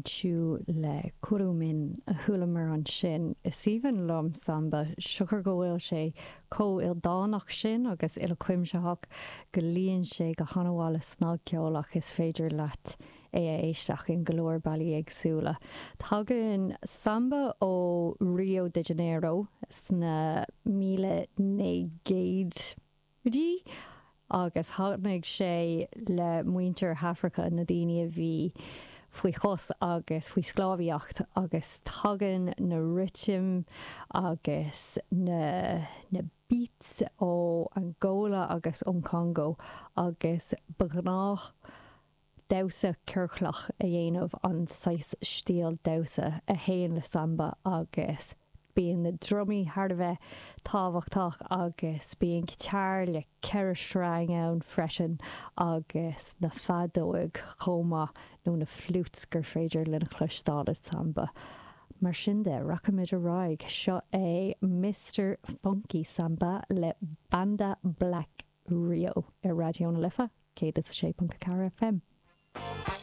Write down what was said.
Menchu le Kurumin a chualamar ansin. Is aoibhinn liom samba, siocair go bhfuil sé chomh ildánach sin agus uilechuimsitheach go luíonn sé go han-mhaith le snagcheol ach is féidir leat é a éisteach in go leor bealaí éagsúla. Tagann samba ó Rio de Janeiro sna 1900. idí agus tháinig sé le muintir hAfraice, na daoine a bhí faoi chos agus faoi sclábhaíocht agus tagann na rithim agus na na beats ó Angola agus ón Congo agus ba ghnách damhsa ciorclach a dhéanamh, an saghas stíl damhsa a théann le samba agus bíonn na drumaí thar a bheith tábhachtach agus bíonn guitar le 4 sreang ann freisin agus na feadóig chomh maith nó na flutes gur féidir linn a chloisteáil i samba. Mar sin de, rachaimid ar aghaidh, seo é Mister Funky Samba le Banda Black Rio ar Raidió na Life 106.4 FM.